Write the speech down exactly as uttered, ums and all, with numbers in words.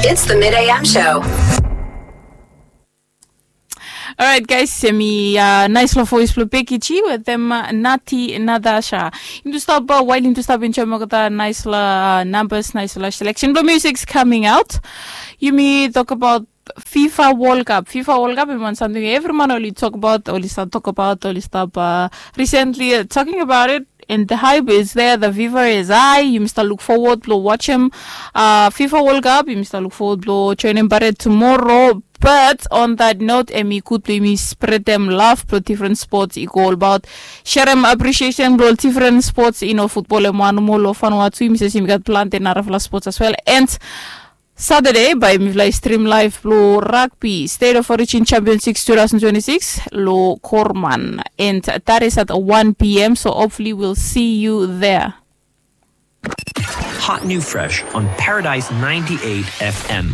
It's the Mid A M Show. Alright, guys, hemi uh, nice lo voice blo Becky G with them uh, Nati Nadasha. Yumi tu stop uh, while yumi tu stop enjoy mo kata nice la uh, numbers, nice la selection blo music's coming out. Yumi talk about FIFA World Cup. FIFA World Cup hemi wan samting evri man oli talk about, oli stap talk about, oli stap uh, recently uh, talking about it. And the hype is there, the fever is high. Yumi stap look forward blo watch him uh, FIFA World Cup. Yumi stap look forward blo join him bare tomorrow. But on that note, hemi gud blo yumi spread them love blo different sports i go all about share them appreciation blo different sports. You know, football hemi wan mo lo Vanuatu, yumi save se yumi gat plante narafala sports as well. And Saturday bae mifala i stream live blo rugby State of Origin Championships two thousand twenty-six lo Korman, and that is at one p.m. So hopefully we'll see you there. Hot new fresh on Paradise ninety-eight F M.